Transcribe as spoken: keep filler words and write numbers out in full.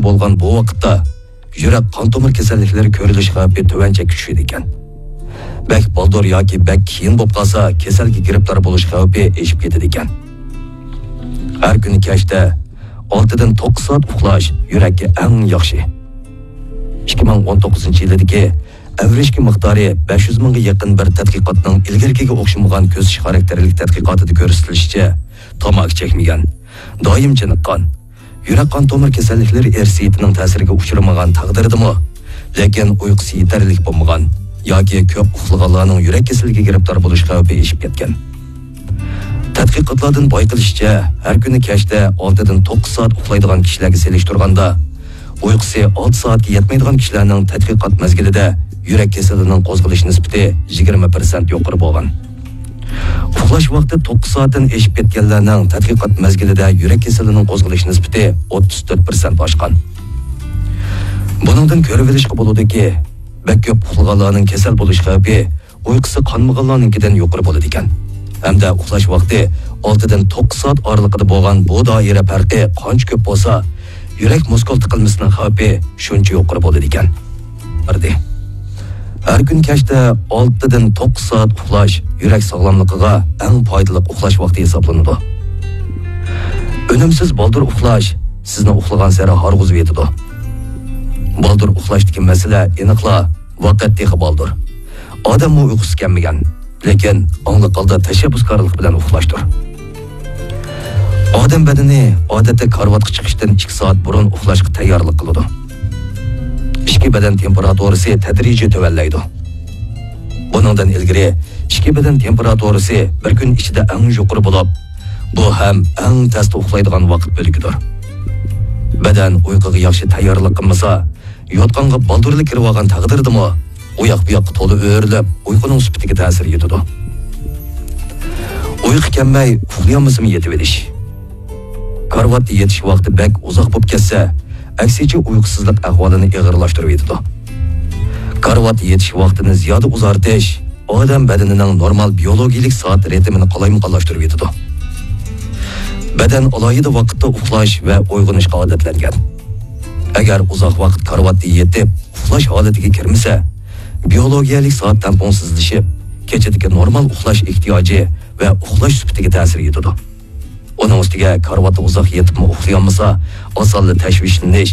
بولغان بۇ ۋاقىتتا يۈرەك قان تومۇر كېسەللىكلىرى كۆرۈلۈش خەۋپى تۆۋەن چەككە چۈشىدىكەن. بەك بالدۇر ياكى بەك كېيىن بولۇپ قالسا، كېسەلگە گىرىپتار بولۇش خەۋپى ئېشىپ كېتىدىكەن. ھەر كۈنى كەچتە ئالتىدىن توققۇز سائەت ئۇخلاش يۈرەككە ئەڭ ياخشى. ئىككى مىڭ ئون توققۇزىنچى يىلىدىكى ئەۋرىشكە مىقدارى بەش يۈز مىڭغا يېقىن بىر تەتقىقاتنىڭ ئىلگىرىكىگە ئوخشىمىغان كۆزىتىش خاراكتېرلىك تەتقىقاتىدا كۆرسىتىلىشىچە، تاماكا چەكمىگەن، دائىم چېنىققان، يۈرەك قان تومۇر كېسەللىكلىرى ئىرسىيىتىنىڭ تەسىرىگە ئۇچرىمىغان تەقدىردىمۇ، لېكىن ئۇيقۇسى يېتەرلىك بولمىغان ياكى كۆپ ئۇخلىغانلارنىڭ يۈرەك كېسىلىگە گىرىپتار بولۇش خەۋپى ئېشىپ كەتكەن. تەتقىقاتلاردىن بايقىلىشىچە، ھەر كۈنى كەچتە ئالتىدىن توققۇز سائەت ئۇخلايدىغان كىشىلەرگە سېلىشتۇرغاندا، ئۇيقۇسى ئالتە سائەتكە يەتمەيدىغان كىشىلەرنىڭ تەتقىقات مەزگىلىدە يۈرەك كېسىلىنىڭ قوزغىلىش نىسبىتى يىگىرمە پىرسەنت يۇقىرى بولغان. ئۇخلاش ۋاقتى توققۇز سائەتتىن ئېشىپ كەتكەنلەرنىڭ تەتقىقات مەزگىلىدە يۈرەك كېسىلىنىڭ قوزغىلىش نىسبىتى ئوتتۇز تۆت پىرسەنت ئاشقان. بۇنىڭدىن كۆرۈۋېلىشقا بولىدۇكى، بەك كۆپ ئۇخلىغانلارنىڭ كېسەل بولۇش خەۋپى ئۇيقۇسى قانمىغانلارنىڭكىدىن يۇقىرى بولىدىكەن. ھەمدە ئۇخلاش ۋاقتى ئالتىدىن توققۇز سائەت ئارىلىقىدا بولغان بۇ دائىرە پەرقى قانچە كۆپ بولسا، يۈرەك مۇسكۇل تىقىلمىسىنىڭ خەۋپى شۇنچە يۇقىرى بولىدىكەن. بىردى. ھەر كۈن كەچتە ئالتىدىن توققۇز سائەت ئۇخلاش يۈرەك ساغلاملىقىغا ئەڭ پايدىلىق ئۇخلاش ۋاقتى ھېسابلىنىدۇ. ئۈنۈمسىز بالدۇر ئۇخلاش سىزنى ئۇخلىغانسېرى ھارغۇزۇۋېتىدۇ. بالدۇر ئۇخلاشتىكى مەسىلە ئېنىقلا ۋاقىت تېخى بالدۇر. ئادەممۇ ئۇيقۇسى كەلمىگەن، لېكىن ئاڭلىق ھالدا تەشەببۇسكارلىق بىلەن ئۇخلاشتۇر. ئادەم بەدىنى ئادەتتە كارىۋاتقا چىقىشتىن ئىككى سائەت بۇرۇن ئۇخلاشقا تەييارلىق قىلىدۇ. ئىچكى بەدەن تېمپېراتۇرىسى تەدرىجىي تۆۋەنلەيدۇ. بۇنىڭدىن ئىلگىرى ئىچكى بەدەن تېمپېراتۇرىسى بىر كۈن ئىچىدە ئەڭ يۇقىرى بولۇپ، بۇ ھەم ئەڭ تەستە ئۇخلايدىغان ۋاقىت بۆلىكىدۇر. بەدەن ئۇيقۇغا ياخشى تەييارلىق قىلمىسا، يوتقانغا بالدۇرلا كىرىۋالغان تەقدىردىمۇ، ئۇ ياق بۇ ياققا تولا ئۆرۈلۈپ، ئۇيقۇنىڭ سۈپىتىگە تەسىر يېتىدۇ. ئۇيقۇ كەلمەي، ئۇخلىيالمىسىمۇ يېتىۋېلىش. كارىۋاتتا يېتىش ۋاقتى بەك ئۇزاق بولۇپ كەتسە، ئەكسىچە ئۇيقۇسىزلىق ئەھۋالىنى ئېغىرلاشتۇرۇۋېتىدۇ. كارىۋاتتا يېتىش ۋاقتىنى زىيادە ئۇزارتىش ئادەم بەدىنىنىڭ نورمال بىيولوگىيىلىك سائەت رىتىمىنى قالايمىقانلاشتۇرۇۋېتىدۇ. بەدەن ئالاھىدە ۋاقىتتا ئۇخلاش ۋە ئويغىنىشقا ئادەتلەنگەن. ئەگەر ئۇزاق ۋاقىت كارىۋاتتا يېتىپ، ئۇخلاش ھالىتىگە كىرمىسە، بىيولوگىيەلىك سائەت تەڭپۇڭسىزلىشىپ، كېچىدىكى نورمال ئۇخلاش ئېھتىياجى ۋە ئۇخلاش سۈپىتىگە تەسىر يېتىدۇ. ئۇنىڭ ئۈستىگە كارىۋاتتا ئۇزاق يېتىپمۇ ئۇخلىيالمىسا، ئاسانلا تەشۋىشلىنىش